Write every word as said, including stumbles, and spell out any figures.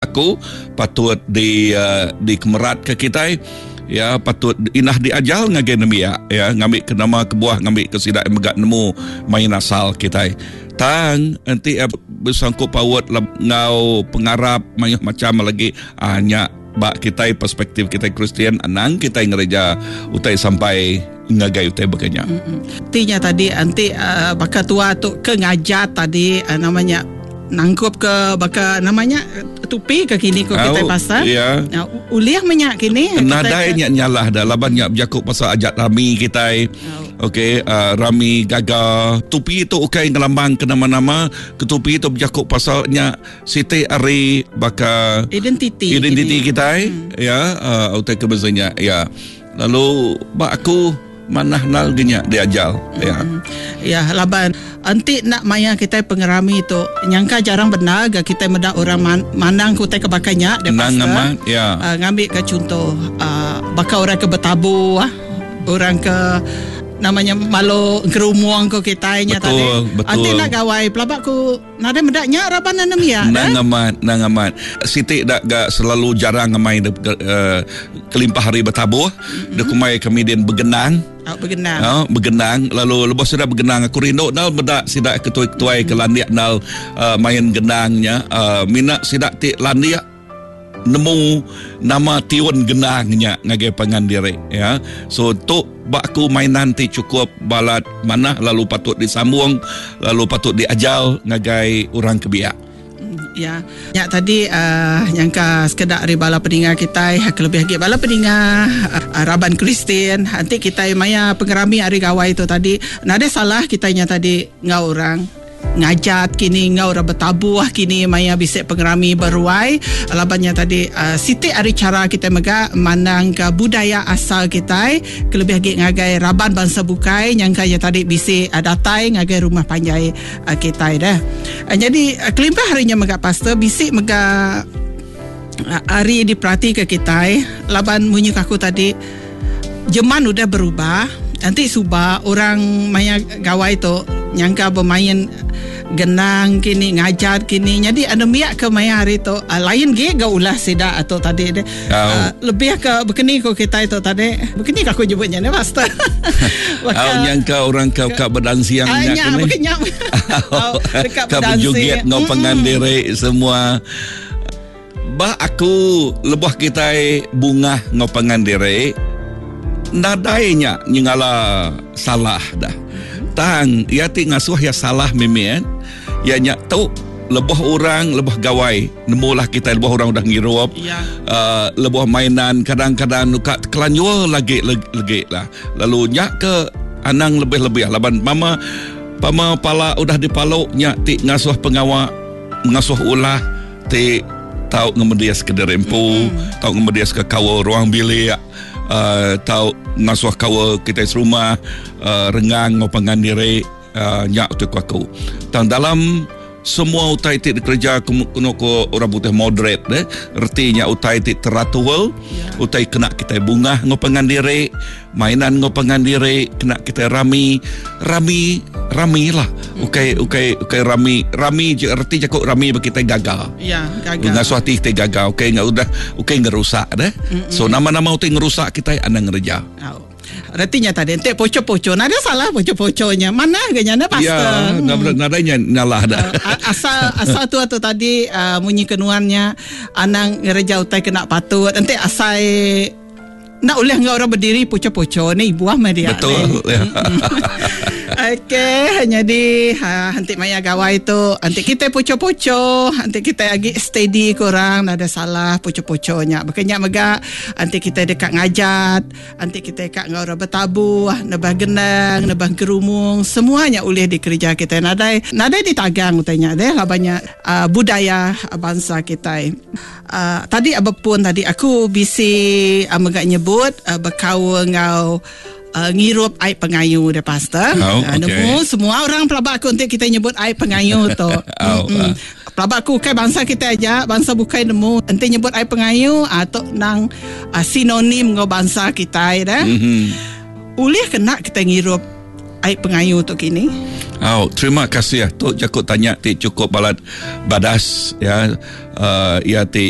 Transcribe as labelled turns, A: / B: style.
A: Aku patut di uh, dikemerat ke kitai ya, patut inah diajal ngagai nembiak ya, ngambil ke nama kebuah ngambil ke sidak mega nemu main asal kitai. Tang enti uh, bersangkut paut ngau pengarap mayuh macam lagi uh, nya ba kitai perspektif kitai Kristian anang kitai ngereja utai sampai ngagai utai bekanya.
B: Mm-hmm. Tinya tadi anti uh, baka tua tu ke ngajat tadi uh, namanya nangkup ke baka namanya tupi ke kini ko kita pasal.
A: Ya.
B: Ulih menyak kini.
A: Nadai nya nyalah dah laban nya berjakuk pasal ajat rami kitai. Oh. Okey, uh, rami gaga. Tupi tu ukai ngelambang ke nama-nama, ketupi tu berjakuk pasal nya siti ari baka
B: identiti
A: identiti kitai hmm. ya, uh, utai ke bezanya ya. Lalu ba aku manah nal genya diajal ya.
B: Mm. Ya laban enti nak maya kita pengerami tu nyangka jarang benar ga kita meda orang man, manang ku tai kebakanya dia
A: pasal ya.
B: Uh, ngambil ke contoh uh, baka orang ke bertabu ah, orang ke namanya malu kerumuang ko kita nya tadi. Enti nak gawai pelabak ku nadai meda nya raban anem ya.
A: Nang amat, nang amat. Siti dak ga selalu jarang ngamai de, uh, kelimpah hari bertabuh, mm-hmm. de kumai kami din bergenang.
B: Oh, bergenang.
A: Oh, bergenang. Lalu lepas sudah bergenang aku rindu nal meda sidak ketuai-ketuai ke landik nal uh, main genangnya. Uh, mina sidak ti landik nemu nama tiun genangnya ngagai pangan diri ya. So tu bak aku mainan ti cukup balat manah lalu patut disambung lalu patut diajal ngagai orang kebiak.
B: Ya. Ya tadi uh, nyangka sekedak ari bala peninga kitai kelebih lagi bala peninga uh, raban Kristian nanti kitai maya pengerami hari gawai tu tadi nadai salah kitainya tadi ngau orang ngajat kini ngau orang bertabuh kini maya bisik pengerami beruai labannya tadi uh, siti ari cara kita mega mandang ke budaya asal kita kelebih lagi ngagai raban bangsa bukai nyangka ya tadi bisik uh, datai ngagai rumah panjai uh, kita dah. Uh, jadi uh, kelimpah harinya mega pastor bisik mega uh, hari diperhati ke kita laban munyi aku tadi jeman udah berubah. Nanti suba orang maya gawai tu nyangka bermain genang kini ngajat kini jadi ada miak ke maya hari tu uh, lain ge ga ulah sida atau tadi de
A: oh.
B: uh, lebih ke bekeni ko kita itu tadi bekeni aku nyebutnya ne pastor.
A: Au nyangka orang kau ka berdansi yang
B: nya kini dekat
A: ka berjoget ngau pangan diri semua. Bah aku lebuh kita bunga ngau pangan diri nadainya nyengala salah dah. Tang ia ti ngasuh ya salah mimian. Ya nyak tu lebuh orang lebuh gawai nemulah kita lebuh orang udah ngirup
B: ya.
A: Uh, lebuh mainan kadang-kadang nuka kelanjur lagi lagi lah. Lalu nyak ke anang lebih-lebih laban mama pama pala udah dipaluk nyak ti ngasuh pengawak ngasuh ulah ti tau ngemedias ke derempu,
B: mm-hmm.
A: tau ngemedias ke kawa ruang bilik. Uh, tau ngasuh kawa kita serumah uh, rengang ngau pangan diri uh, nyak tu aku. Tang dalam semua utai ti dikerja kuno ko orang putih moderate deh, ertinya utai ti teratur,
B: yeah.
A: Utai kena kita bunga ngau pangan diri, mainan ngau pangan diri, kena kita rami, rami, rami lah. Ukai ukai ukai rami, rami je erti jaku rami bagi kita gagal.
B: Ya, gagal.
A: Ngasuh hati kita gagal, ukai enggak udah ukai ngerusak deh.
B: Mm-mm.
A: So nama-nama utai ngerusak kita anang ngereja.
B: Oh. Artinya tadi ente poco-poco nada salah poco-poconya mana ganya na pastor.
A: Ya, hmm. Nadanya nyalah dah.
B: Uh, asal asal tu atau tadi uh, munyi kenuannya anang ngereja utai kena patut ente asai nak ulih ngau orang berdiri poco-poco ni buah mah dia.
A: Betul. Ya.
B: Okey, jadi ha nanti maya gawai tu nanti kita poco-poco, nanti kita lagi steady kurang ada salah poco-poconya. Bekenya mega nanti kita dekat ngajat, nanti kita dekat ngau orang bertabuh, nebah genang, nebah kerumung, semuanya ulih dikerja kita. Nadai nadai ditagang utanya deh lah banyak uh, budaya bangsa kita. Uh, tadi apapun tadi aku bisi uh, mega nyebut uh, berkau ngau Uh, ngirup air pengayu deh pastor.
A: Oh, okay.
B: Uh, nemu semua orang pelabak aku untuk kita nyebut air pengayu tu.
A: Oh,
B: uh. Pelabak aku kai bangsa kita aja, bangsa bukai nemu. Enti nyebut air pengayu atau nang uh, sinonim ngau bangsa kita dah.
A: Mm-hmm.
B: Ulih kena kita ngirup Ai pengayu tu kini?
A: Oh, terima kasih. Tu jaku tanya ti cukup balat badas ya. Uh, ya ti.